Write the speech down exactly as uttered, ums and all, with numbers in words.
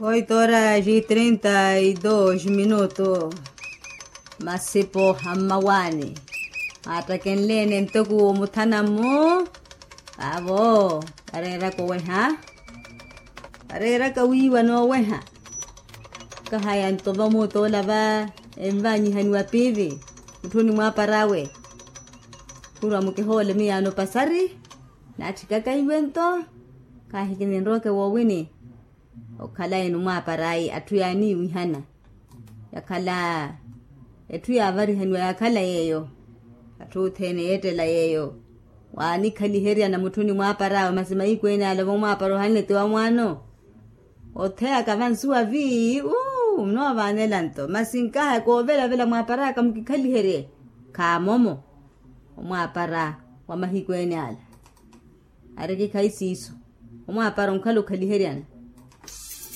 Oito horas e trinta e dois minutos. Masipo a mmawaani aattakenleene ntoku omuthana-mmu. Vaavo vareeraka oweha, vareeraka wiiwa nooweha. Kahaya nto vamuutola va envanyihaniwa piivi mutthuni mwaapar'awe. Khurwa mukihoole miyaano pasari. Naatthikaka iwe nto, kaahikininroke woowini. Okhala enu mwaapar'ayi atthu yaaniiwihana, yakhala etthu yaavarihaniwa yakhala yeeyo. Atthu othene yeettela yeeyo, waanikhaliheryana mutthuni mwaapar'awe masi mahiku ene ale vomwaapara ohanle ti wa mwaano. Otheyaka vansuwa vii uu munoovaanela nto masi nkahaya koovelavela mwaapar'aka mukikhaliherye. Khaamomo omwaapara wa mahiku ene ala. Arikikhayi siiso, omwaapara onkhala okhaliheryana.